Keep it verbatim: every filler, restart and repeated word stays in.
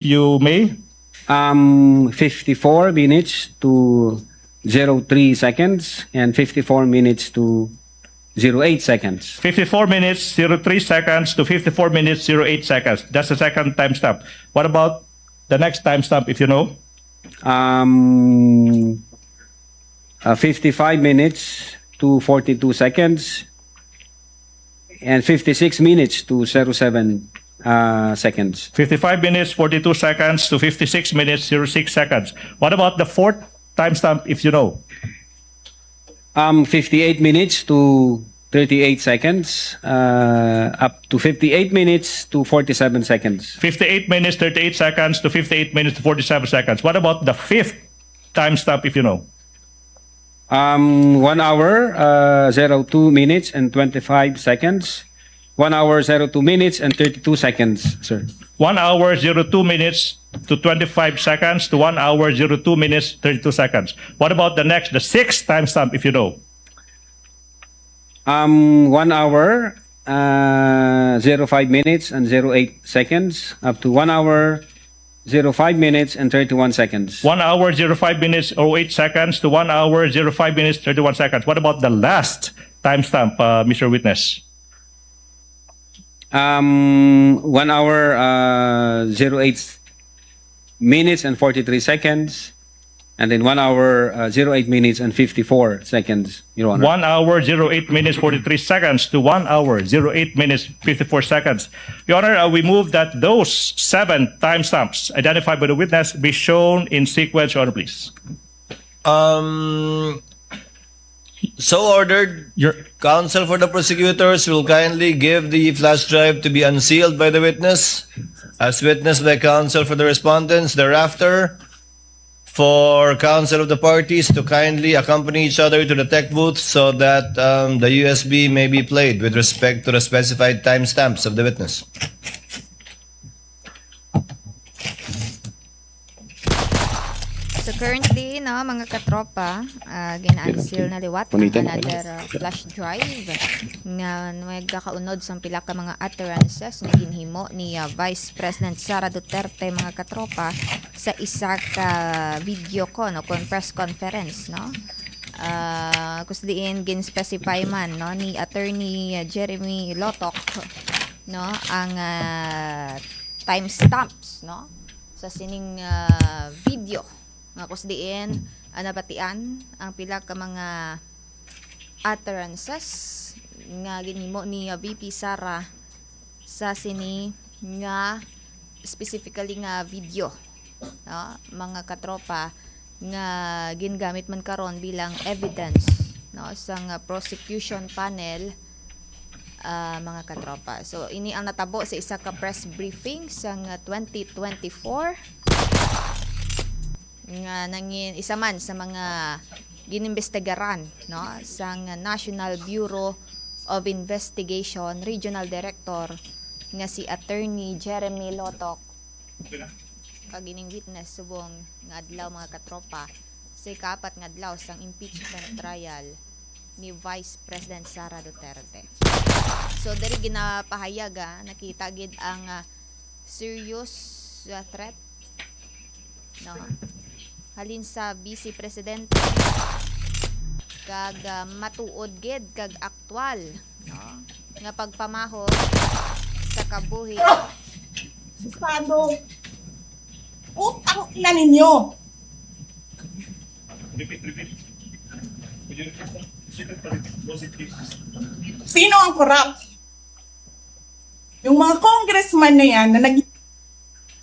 You may. Um, fifty-four minutes to zero three seconds and fifty-four minutes to zero eight seconds. Fifty-four minutes, zero three seconds to fifty-four minutes, zero eight seconds. That's the second timestamp. What about the next timestamp, if you know? Um, uh, fifty-five minutes to forty-two seconds and fifty-six minutes to zero seven uh, seconds. Fifty-five minutes, forty-two seconds to fifty-six minutes, zero six seconds. What about the fourth timestamp, if you know? Um, fifty-eight minutes to thirty-eight seconds, uh, up to fifty-eight minutes to forty-seven seconds. Fifty-eight minutes, thirty-eight seconds to fifty-eight minutes to forty-seven seconds. What about the fifth timestamp, if you know? Um, one hour, uh, zero two minutes and twenty-five seconds. One hour, zero two minutes and thirty-two seconds, sir. One hour, zero two minutes to twenty-five seconds to one hour, zero two minutes, thirty-two seconds. What about the next, the sixth timestamp, if you know? Um, one hour, uh, zero five minutes and zero eight seconds, up to one hour, zero five minutes and thirty-one seconds. One hour, zero five minutes, oh eight seconds to one hour, zero five minutes, thirty-one seconds. What about the last timestamp, uh, Mister Witness? Um, one hour, uh, zero eight minutes and forty-three seconds, and then one hour, uh, zero eight minutes and fifty-four seconds, Your Honor. One hour, zero eight minutes, forty-three seconds to one hour, zero eight minutes, fifty-four seconds. Your Honor, uh, we move that those seven timestamps identified by the witness be shown in sequence, Your Honor, please. Um, so ordered. Your counsel for the prosecutors will kindly give the flash drive to be unsealed by the witness, as witnessed by counsel for the respondents. Thereafter, for counsel of the parties to kindly accompany each other to the tech booth so that um, the U S B may be played with respect to the specified timestamps of the witness. So currently, no, mga katropa, uh, gin-unseal na liwat ang another uh, flash drive nga nagkakaunod sang pila ka mga utterances nga ginhimo ni uh, Vice President Sara Duterte, mga katropa, sa isa ka video ko, no, kon press conference, no. Uh, kus diin gin-specify man, no, ni Attorney Jeremy Lotok, no, ang uh, timestamps, no, sa sining uh, video nga kus diin uh, nabatian ang pila ka mga utterances nga ginhimo ni uh, V P Sara sa sini nga specifically nga video, no, mga katropa, nga gingamit man karon bilang evidence, no, sang prosecution panel, uh, mga katropa. So ini ang natabo sa isa ka press briefing sang twenty twenty-four nga nangin isa man sa mga ginimbestigaran, no, sang National Bureau of Investigation Regional Director nga si Attorney Jeremy Lotok kag ining witness subong nga adlaw, mga katropa, sa ikaapat nga adlaw sang impeachment trial ni Vice President Sara Duterte. So diri ginapahayaga, nakita gid ang uh, serious uh, threat, no, halin sa Vice Presidente kag uh, matuod gid kag aktual, no, nga pagpamahol sa kabuhi. Estado. Putang ina ninyo. Sino ang corrupt? Yung mga congressman na yan na nag